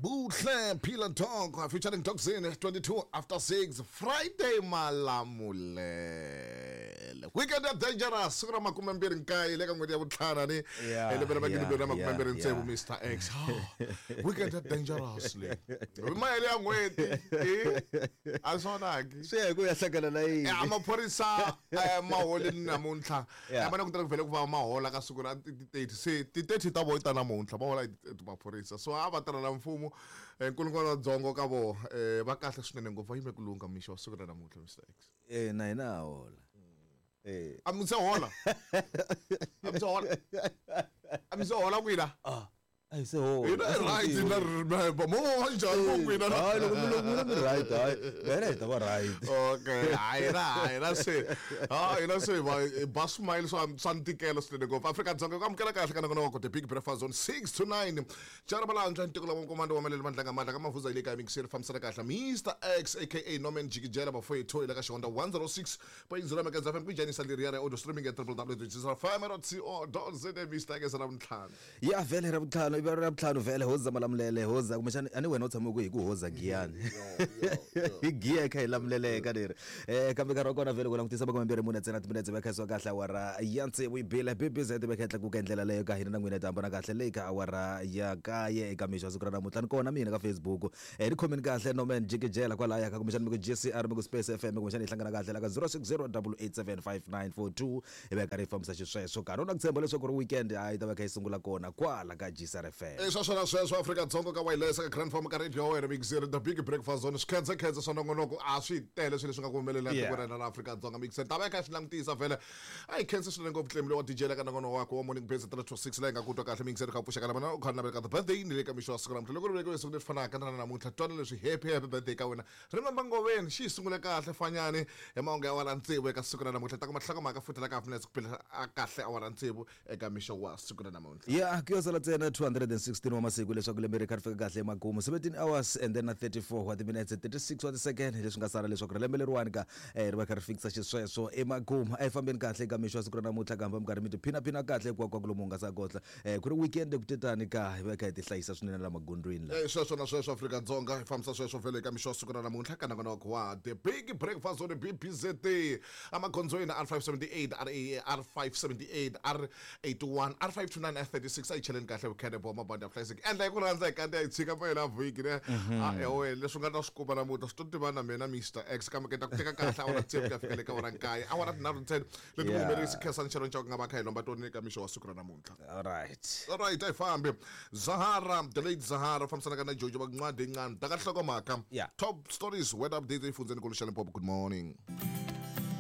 Buhle Pillar Talk featuring Toxin 22 after 6 Friday Malamulele. Weekend ya dangerous siku ra 29 le ka n'hweti ya vuntlhanu ni Yeah, lembe ra magidi yeah, mbirhi na makume mbirhi yeah, tsevu yeah. Mr X. Weekend ya dangerous le. Mahele ya n'hweti. Eh? A swonaki. Swi ya hi ku ya hlangana na yini. Maphorisa ma holini namuntlha. Yeah. Ma na ku tirha ku vhele ku va mahola ka siku ra ti 30 se ti 30 ta voho ta namuntlha va hola hi ti maphorisa so a va tirhela mfumo nkulungwana wa dzongo ka voho va kahle swinene ngopfu va yime ku lungha mixo wa siku ra namuntlha Mr X. Na hina ha hola. A mi se hola, a mi se hola, a mi se hola kwina? A hi se hola. Hina hi right na mo va njhani mo kwina? Hayi, loko mi loko mi right, hayi vele hi ta va right. Okay, hayi na se ha hina se va ba smile swa ntikelo swinene ngopfu. Afrika-Dzonga ku amukela kahle ka nongonoko The Big Breakfast on 6 to 9 Jarabalantswa ntiko lava nkomando wa malele mandlanga mandla ka mavuza ile ka mixer fambisana kahle Mr X aka Norman Jikijela bafowethu ile ka xihonda 106.0 Megahertz FM ku leriya ra audio streaming at www.fm.co.za Mr X ra vuntlhanu. Ya vhele ra vuntlhanu, ivi ra vuntlhanu vhele hoza Malamulele hoza kumbexani a ni wena u tshame ku hi ku hoza giyani hi giya hi kha hi lamuleleka leri kambe nkarhi wa kona vhele ku langutisa 24 ntsena timinetse va khaisiwa kahle awara ya tsevu yi bile bbz va kha yi tlakuka hi ndlela leyo ka hina na n'wina hi ta hambana kahle leyi ka awara ya kaye eka mixo wa siku ra namuntlha ni kona mina ka Facebook ni khomeni kahle Norman Jikijela kwalaya ka kumbexani mi ku GCR mi ku Space FM kumbexani hi hlangana kahle la ka 060 8875942 hi va karhi hi fambisa xisweswo karhi u na ku tshemba leswaku ri weekend hayi ta va kha yi sungula kona kwala ka GCR FM. Sweswo na sweswo Afrika-Dzonga ka wireless ka grand form ka radio wena mixer The Big Breakfast Zone swikhedzekhedze swa nongonoko a swi tele swilo leswi nga ku humelela tikweni ra Afrika-Dzonga mixer ta va kha swi langutisa vhele a hi khensa swinene ngopfu tlemi lowa DJ la ka nongonoko wakwe wa Morning Base 3 to 6 leyi nga ku twa kahle mixer kha pfuxeka na u kha navela ka the birthday ni le ka mixo wa siku namuntlha loko ri velekiwe siku leri fanaka na namuntlha twana leswi happy happy birthday ka wena remember ngoveni xi yi sungule kahle fanyani hi mahungu ya awara tsevu eka siku ra namuntlha ta kuma nhlokomhaka futhi la ka half minutes ku phela a kahle awara tsevu eka mixo wa siku ra namuntlha. Ya ku yo sala ntsena 216 wa masiku leswaku lembe ri kha ri fika kahle emakumu, 17 hours and then na 34 wa timinetse 36 wa tisecond leswi nga sala leswaku ri lembe leriwani ka ri va kha ri fikisa xisweswo emakumu. A hi fambeni kahle eka mixo wa siku ra namuntlha kambe mi karhi mi tiphinaphina kahle hinkwako lomu nga sa kotla ku ri weekend ku tetani ka hi va kha hi tihlayisa swinene la magondzweni la. Sweswo na sweswo Afrika-Dzonga hi fambisa sweswo vhele eka mixo wa siku ra namuntlha ka nongonoko wa The Big Breakfast on BBZ amagondzweni R578 RA R578 R81 R529 R36 a yi cheleni kahle vukhene bo mabandi ya vuhlayiseki endla hi ku rhandza hi kanti yi tshika mpela vhiki ne a ewe leswi nga ta swi kuma namuntlha swi to tiva na mina Mr X kambe ke ta ku teka kahle awara tsevu ku ya fika le ka awara nkaye awara tinharhu ntsena leti vuhumelerisi Khensani Sharon Chauke nga va kha hi lomba tona eka mixo wa siku ra namuntlha. Alright. Alright, a hi fambi Zahara the late Zahara fambisanaka na Jojo Vancwadi Ncane ta ka nhlokomhaka. Top stories, weather update efundzeni kulu xa Limpopo. Good morning.